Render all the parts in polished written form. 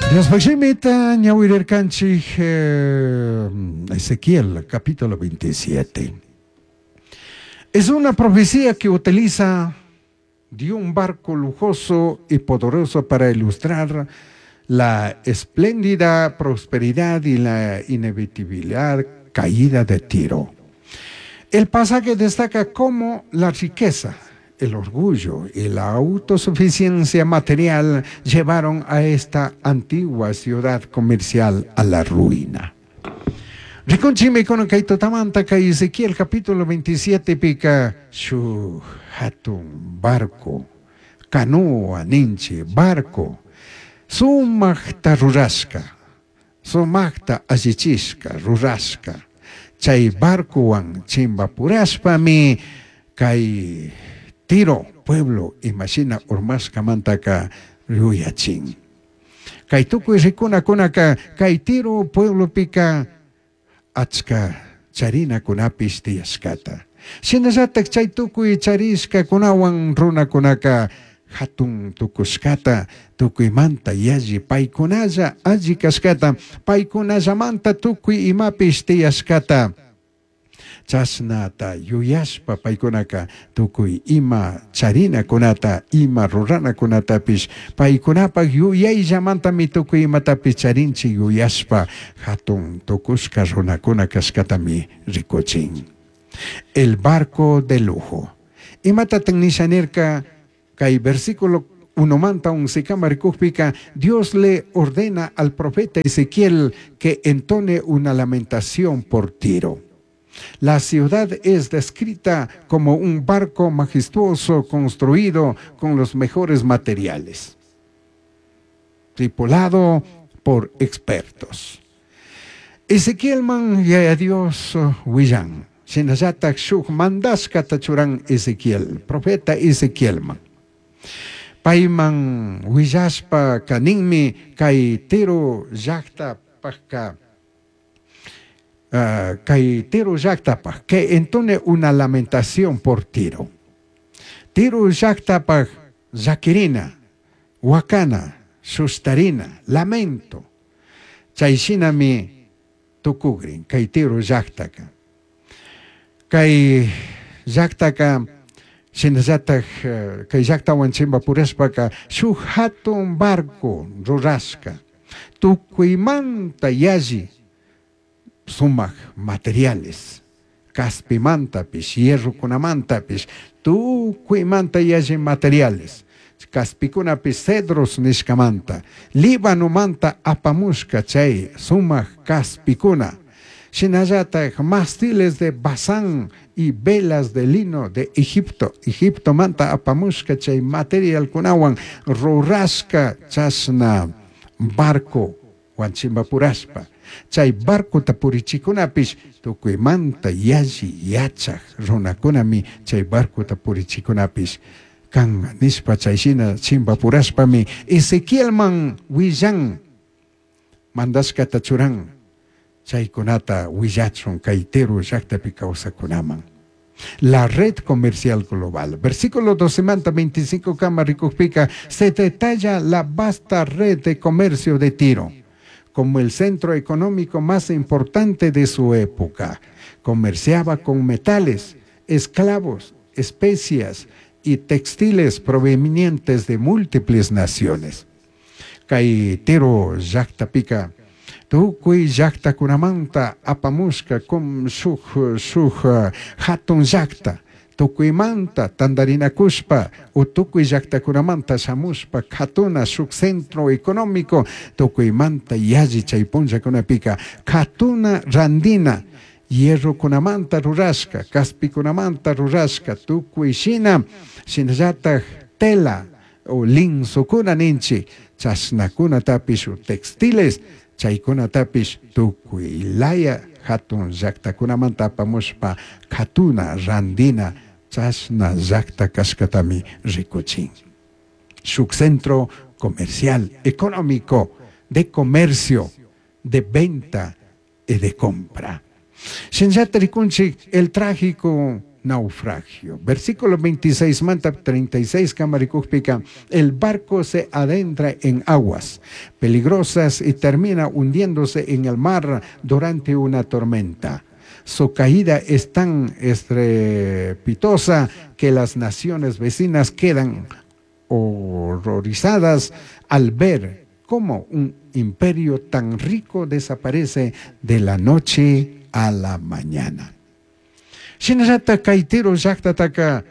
Diospaj shimita ñawirirkanchik Ezequiel capítulo 27. Es una profecía que utiliza de un barco lujoso y poderoso para ilustrar la espléndida prosperidad y la inevitabilidad caída de Tiro. El pasaje destaca cómo la riqueza, el orgullo y la autosuficiencia material llevaron a esta antigua ciudad comercial a la ruina. Rikunchimi kunan kay tutamanta kay Ezequiel capítulo 27 pika shuj hatun barco, canoa ninchi barco, sumajta rurashka, sumajta allichishka rurashka, chay barcowan chimbapurashpami kay Tiro pueblo imashina urmashkamantaka yuyachin. Kay tukuy rikunakunaka kay Tiro pueblopika achka charinakunapish tiyashkata. Shinallatak chay tukuy charishkakunawan runakunaka hatun tukushkata, tukuymanta yalli paykunalla alli kashkata, paykunallamanta tukuy imapish tiyashkata. Chashnata yuyashpa paykunaka tukuy ima charinakunata, ima ruranakunatapish paykunapak yuyayllamantami tukuy imatapish charinchik yuyashpa hatun tukushka runakuna kashkatami rikuchin. El barco de lujo. Imatatak nisha nirka kay versículo 1manta 11kama rikukpika, Dios le ordena al profeta Ezequiel que entone una lamentación por Tiro. La ciudad es descrita como un barco majestuoso construido con los mejores materiales, tripulado por expertos. Ezequiel man yaya Dios willan, shinallatak shuk mandashkata churan Ezequiel, profeta Ezequiel man. Payman willashpa kaninmi kay Tiro llaktapajka, kay Tiro llaktapaj, que entone una lamentación por Tiro. Tiro llaktapaj llakirina, wakana, sustarina, lamento. Chay shinami tukugrin kay Tiro llaktaka. Kay llaktaka shinallatak kay llaktawan chimbapurashpaka shuk hatun barco rurashka, tukuymanta yalli sumak materiales, kaspimantapish, hierrokunamantapish, tukuymanta yalli materiales, kaspikunapish cedros nishkamanta, Líbanomanta apamushka chay sumak kaspikuna, shinallatak mástiles de Basán y velas de lino de Egipto, Egiptomanta apamushka chay materialkunawan rurashka chashna barco wanchimbapurashpa. Chay barcota purichikunapish tukuymanta yalli yachaj runakunami chay barcota purichikunapish kan nishpa chay shina chimbapurashpami Ezequielman willan mandashkata churan chaykunata willachun kay Tiro llaktapi kawsakunaman. La red comercial global. Versículo 12 manta 25 kama rikukpika, se detalla la vasta red de comercio de Tiro como el centro económico más importante de su época. Comerciaba con metales, esclavos, especias y textiles provenientes de múltiples naciones. Kay Tiro llaktapika, tukuy llaktakunamanta apamushka con shuk, shuk hatun llakta, tukuymanta tandarinakushpa o tukuy llaktakunamanta shamushpa katuna shuk centro económico, tukuymanta yalli chay punllakunapika katuna randina, hierrokunamanta rurashka, kaspikunamanta rurashka, tukuy shina, shinallatak tela o linsokuna ninchi, chashnakunatapish o textiles, chaykunatapish tukuy laya hatun llaktakunamanta apamushpa katuna randina chashna llakta kashkatami rikuchin. Shuk centro comercial, económico, de comercio, de venta y de compra. Shinllata rikunchik el trágico naufragio. Versículo 26 manta 36 kamarikujpika, el barco se adentra en aguas peligrosas y termina hundiéndose en el mar durante una tormenta. Su caída es tan estrepitosa que las naciones vecinas quedan horrorizadas al ver cómo un imperio tan rico desaparece de la noche a la mañana. Shinallata kay Tiro llaktataka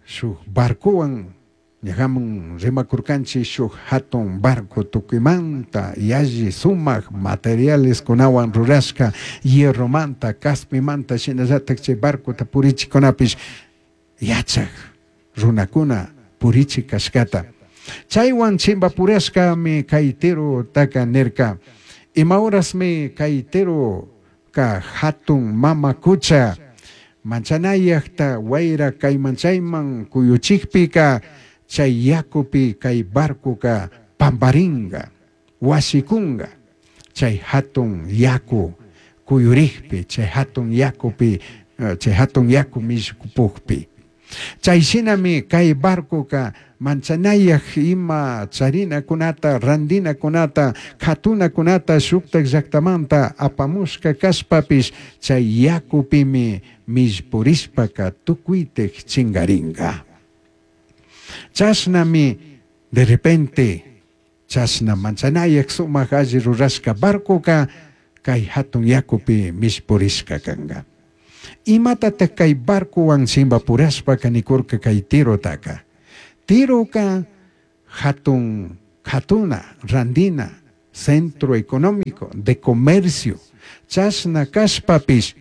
shuk barcowan ñajaman rimakurkanchik shuk hatun barco tukuymanta yalli sumak materiales kunawan rurashka hierromanta kaspimanta shinallatak chay barcota purichikunapish yachak runakuna purichik kashkata. Chaywan chimpapurashkami kay Tirotaka nirka ima horasmi kay Tiroka hatun mama kucha manchanayakta wayra kayman chayman kuyuchikpika chay yakupi kay barcoka pamparinga wasikunga chay hatun yaku kuyurikpi chay hatun yakupi chay hatun yaku mishkupukpi. Chay shinami kay barcoka manchanayak ima charinakunata randinakunata katunakunata shuktak llaktamanta apamushka kashpapish chay yakupimi millpurishpaka tukuytik chingaringa. Chashnami de repente chashna manchanayak sumak alli rurashka barcoka kay hatun yakupi millpurishka kanka. Imatatak kay barcowan chimpapurashpaka nikurka kay Tirotaka. Tiroka hatun katuna randina centro económico de comercio chashna kashpapish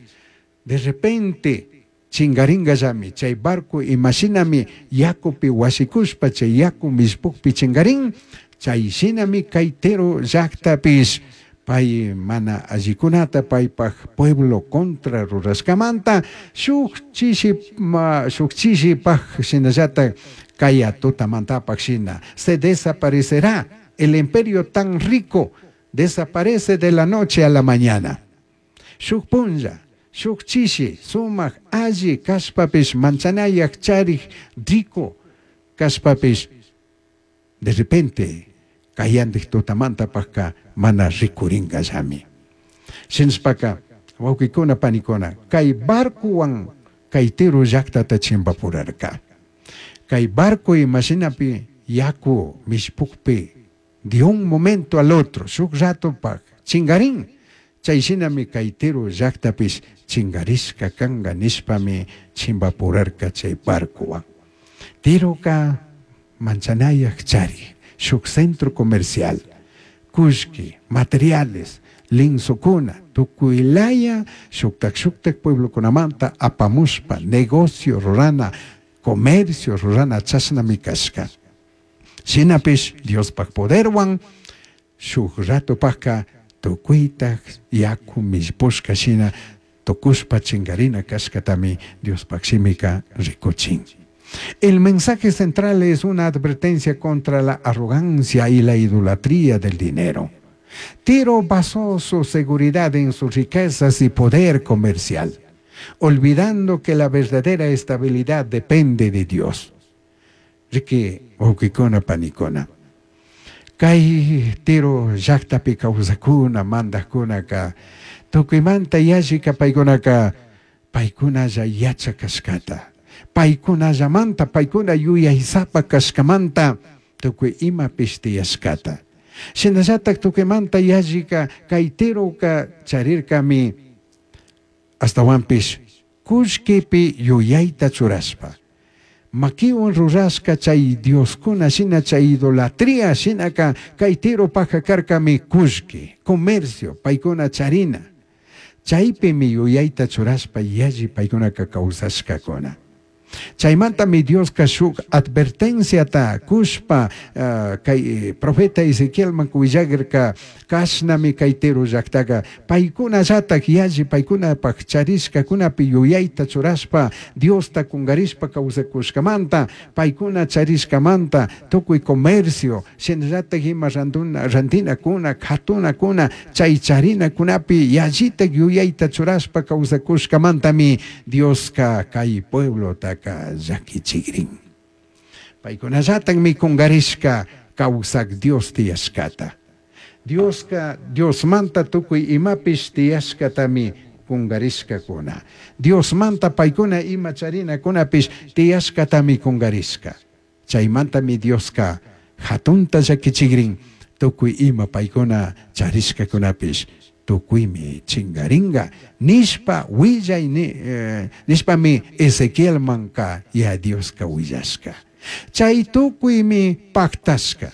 de repente chingaringallami chay barco imashinami yakupi wasikushpa chay yaku millpukpi chingarin chay shinami kay Tiro llaktapish pay mana allikunata paypaj pueblo contra rurashkamanta shuk chishi shuk chishipaj shinallatak kaya tutamantapaj shina se desaparecerá el imperio tan rico desaparece de la noche a la mañana. Shuk punlla shuk chishi sumak alli kashpapish manchanayak charik rico kashpapish de repente kayandik tutamantapajka mana rikuringallami. Shinashpaka wawkikuna panikuna kay barcowan kay Tiro llaktata chimpapurarka. Kay barco imashinapi yaku mishpukpi de un momento al otro shuk ratopaj chingarin chay shinami kay Tiro llaktapish chingarishka kanka nishpami chimpapurarka chay barcowan. Tiroka manchanayak chari shuk centro comercial kullki materiales linsukuna tukuylaya shuktak shuktak pueblokunamanta apamushpa negocio rurana comercio rurana chashnami kashka. Shinapish Diospaj poderwan shuk ratopajka tukuytak yaku millpushka shina tukushpa chingarina kashkatami Diospaj shimika rikuchin. El mensaje central es una advertencia contra la arrogancia y la idolatría del dinero. Tiro basó su seguridad en sus riquezas y poder comercial, olvidando que la verdadera estabilidad depende de Dios. Riki wawkikuna panikuna. Kay Tiro llaktapi kawsakuna mandajkunaka tukuymanta yallika paykunaka paykunalla yachakashkata. Paykunallamanta paykuna yuyaysapa kashkamanta tukuy imapish tiyashkata. Shinallatak tukuymanta yallika kay Tiroka charirkami astawanpish kullkipi yuyayta churashpa. Makiwan rurashka chay dioskuna shina chay idolatría shinaka kay Tiropajka karkami kullki, comercio, paykuna charina. Chaypimi yuyayta churashpa yalli paykunaka kawsashkakuna. Chaimantami Diosca shuj advertenciata cushpa cai profeta Ezequielman huillagrirca, cashnami cai Tiro llajtaca paicunallataj yalli paicunapaj charishcacunapi yuyaita churashpa Diosta cungarishpa causacushcamanta, paicuna charishcamanta tucui comercio, shinallataj ima randinacuna, catunacuna, chai charinacunapi yallitaj yuyaita churashpa causacushcamantami Diosca cai pueblotaca llaquichigrin. Paicunallatajmi cungarishca causaj Dios tiyashcata. Diosca Diosmanta tucui imapish tiyashcatami cungarishcacuna. Diosmanta paicuna ima charinacunapish tiyashcatami cungarishca. Chaimantami Diosca jatunta llaquichigrin tucui ima paicuna charishcacunapish tucuimi chingaringa nishpa huillai nishpami Ezequielmanca ya Diosca huillashca. Chai tucuimi pactashca.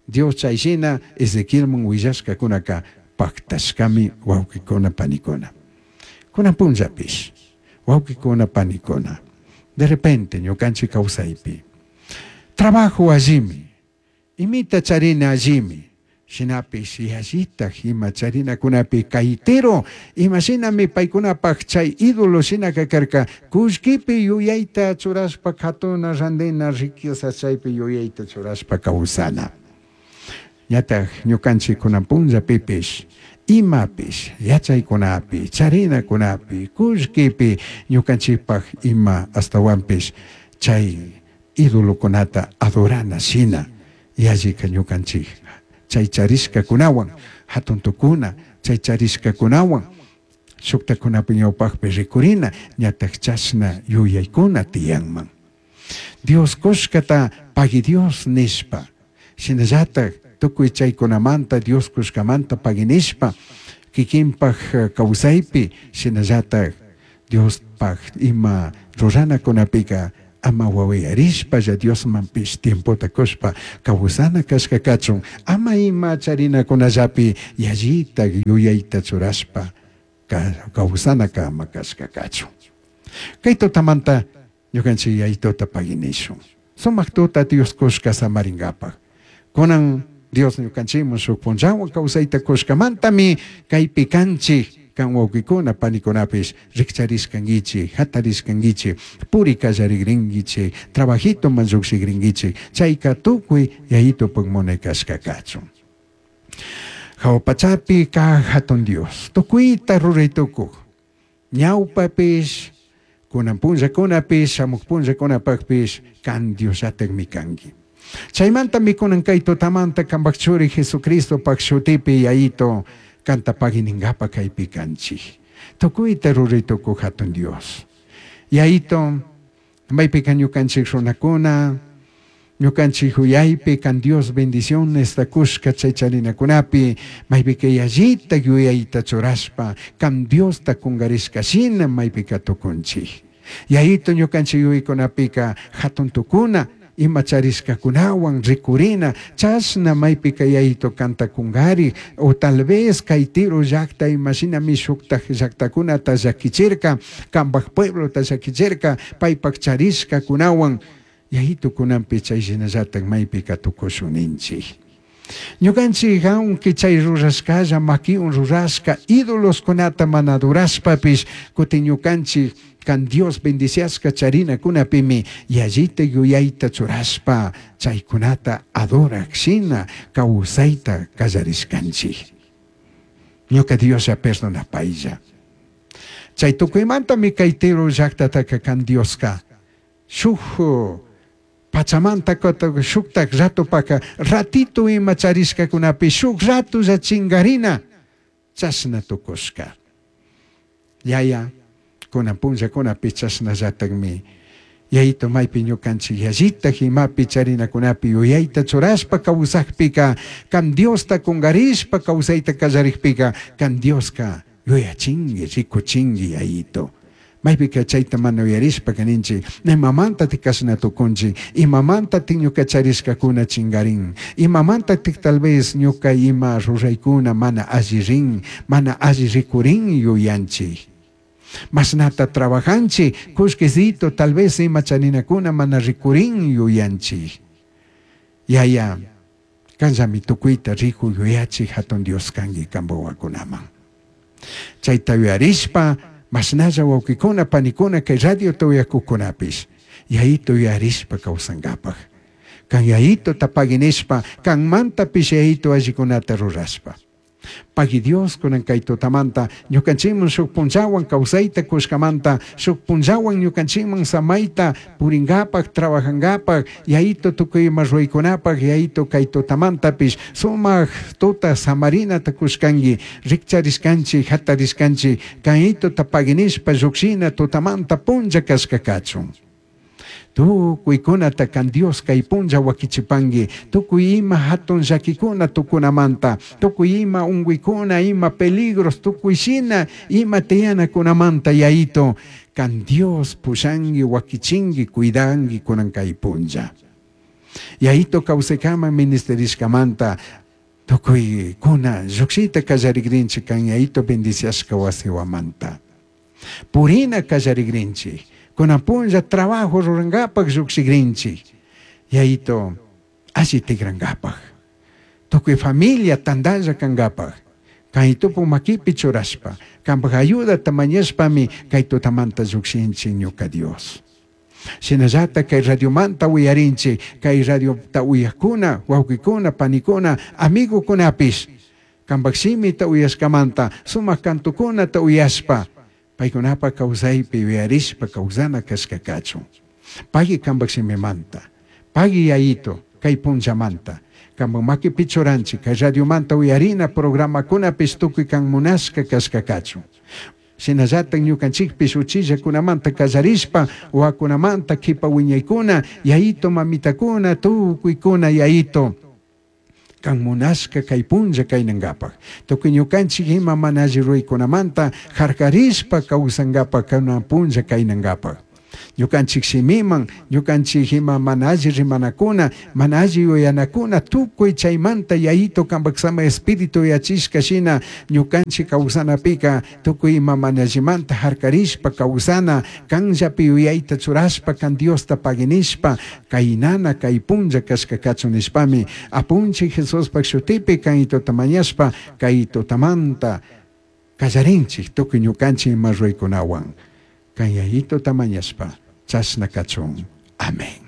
Dios chay shina Ezequielman huillashcacunaca pactashcami huauquicuna panicuna. Cunan punllapish huauquicuna panicuna. De repente ñucanchik causaipi trabajo allimi, imita charina allimi, shinapish yallitaj ima charinacunapi cai Tiro, ima shinami paicunapaj chay ídolo shinaka karka, kullkipi yuyayta churashpa katuna randina riqueza chaypi yuyayta churashpa kawsana. Ñataj ñukanchik kunan punllapipish imapish yachaykunapi charinakunapi kullkipi ñukanchikpaj ima ashtawanpish chay idolokunata adorana shina yallika ñukanchik chay charishkakunawan hatun tukuna chay charishkakunawan shuktakunapi ñawpakpi rikurina ñataj chashna yuyaykuna tiyanman. Dios kushkata pagui Dios nishpa shinallataj tukuy chaykunamanta Dios kushkamanta pagui nishpa kikinpaj kawsaypi shinallataj Diospaj ima ruranakunapika ama wawayarishpalla Diosmanpish tiempota kushpa kawsana kashka kachun ama ima charinakunallapi yallita yuyayta churashpa kawsanaka ama kashka kachun. Kay tutamanta ñukanchik yayituta paginishun. Sumak tuta Dios kushka samaringapaj. Kunan Dios ñukanchikman shuk punllawan kawsayta kushkamantami kaypi kanchik kan wawqikuna panikunapish rikcharishkankichik, hatarishkankichik, puri kallarigrinkichik, trabajitoman llukshigrinkichik, chayka tukuy yayitupak munay kashka kachun. Hawa pachapi kaq hatun Dios, tukuyta ruray tukuq, ñawpapish, kunan punllakunapish, shamuq punllakunapakpish kan Diosllatakmi kanki. Chaymantami kunan kay tutamanta kanpak churi Jesucristopak shutipi yayito kanta pagui kaypi kanchik. Tukuyta ruray tukuq hatun Dios. Yayito, maypika ñukanchik runakuna, ñukanchik uyaypi kan Dios bendiciones kushka chay charinakunapi, maypika yallita yuyayta churashpa, kan Diosta kungarishka shina maypika tukunchik. Yayito ñukanchik yuyaykunapika hatun tukuna, ima charishkakunawan rikurina, chashna maypika yayito kanta kungari, o tal vez kay Tiro llakta imashinami shuktaj llaktakunata llakichirka, kanpak pueblota llakichirka, paypak charishkakunawan, yayito kunanpi chay shinallatak maypika tukushun ninchik. Ñukanchik aunque chay rurashkalla makiwan rurashka ídoloskunata mana adorashpapish kutin ñukanchik kan Dios bendiciashka charinakunapimi yallita yuyayta churashpa chaykunata adorak shina kawsayta kallarishkanchik. Ñuka Dioslla perdonapaylla. Chay tukuymantami kay Tiro llaktataka kan Dioska shuk pachamanta shuktak ratopaka ratito ima charishkakunapi shuk ratolla chingarina chashna tukushka. Yaya kunan punllakunapi chashnallatakmi yayito maypi ñukanchik yallitak imapi charinakunapi yuyayta churashpa kawsakpika kan Diosta kungarishpa kawsayta kallarikpika kan Dioska yuyachinki rikuchinki yayito. Maypika chayta mana uyarishpa kaninchik imamantatik kashna tukunchik imamantatik ñuka charishkakuna chingarin imamantatik tal vez ñuka ima ruraykuna mana alli rin mana alli rikurin yuyanchik. Mashnata trabajanchik, kullkisito tal vez ima chaninakuna mana rikurin yuyanchik. Yaya, kanllami tukuyta rikuy yuyachik hatun Dios kanki kanpak wawakunaman. Chayta yuyarishpa, mashnalla wawkikuna, panikuna kay radiota uyakukunapish, yayito yuyarishpa kawsankapak. Kan yayitota pagui nishpa, kanmantapish yayito allikunata rurashpa. Pagui Dios kunan kay tutamanta, ñukanchikman shuk punllawan kawsayta kushkamanta, shuk punllawan ñukanchikman samayta purinkapak, trabajankapak, yayito tukuy ima ruraykunapak, yayito kay tutamantapish sumak tuta samarinata kushkanki, rikcharishkanchik, hatarishkanchik, kayitota pagui nishpa llukshina tutamanta punlla kashka kachun. Tucuicunata can Dios kay punlla wakichipanki, tukuy ima hatun llakikuna tukunamanta, tukuy ima unguykuna, ima peligros, tukuy shina ima tiyanakunamanta yayito, kan Dios pushanki, wakichinki, cuidanki kunan kay punlla. Yayito kawsaykaman ministerishkamanta, tukuykuna llukshita kallarikrinchik kan yayito bendiciashka wasiwamanta. Purina kallarikrinchik, kunan punlla trabajo rurankapak llukshikrinchik, yayito alli tikrankapak, tukuy familia tantalla kankapak, kaytupu makipi churashpa, kanpak ayudata mañashpami kay tutamanta llukshinchik ñuka Dios. Shinallata kay radiomanta uyarinchik, kay radiota uyakuna, wawkikuna, panikuna, amigukunapish, kanpak shimita uyashkamanta, sumak kantukunata uyashpa, paykunapa kawsaypi yuyarishpa kawsana kashka kachun. Pagui kanpak shimimanta, pagui yayito kay punllamanta, kanpak makipi churanchik, kay radiomanta uyarina programakunapish tukuy kan munashka kashka kachun. Shinallatak ñukanchikpish uchillakunamanta kallarishpa, wawakunamanta kipa wiñaykuna, yayito mamitakuna, tukuykuna yayito, kan munashka kay punlla kaynankapak. Tukuy ñukanchik ima mana alli ruraykunamanta harkarishpa kawsankapak kunan punlla kaynankapak. Ñukanchik shimiman, ñukanchik ima mana alli rimanakuna, mana alli yuyanakuna, tukuy chaymanta yayito kanpak sama espíritu yachishka shina ñukanchik kawsanapika tukuy ima mana allimanta harkarishpa kawsana, kanllapi yuyayta churashpa, kan Diosta paginishpa, kaynana kay punlla kashka kachun nishpami, apunchik Jesuspak shutipi kaytota mañashpa, kay tutamanta kallarinchik tukuy ñukanchik ima ruraykunawan. Kay yayitota mañashpa, chashna kachun. Amén.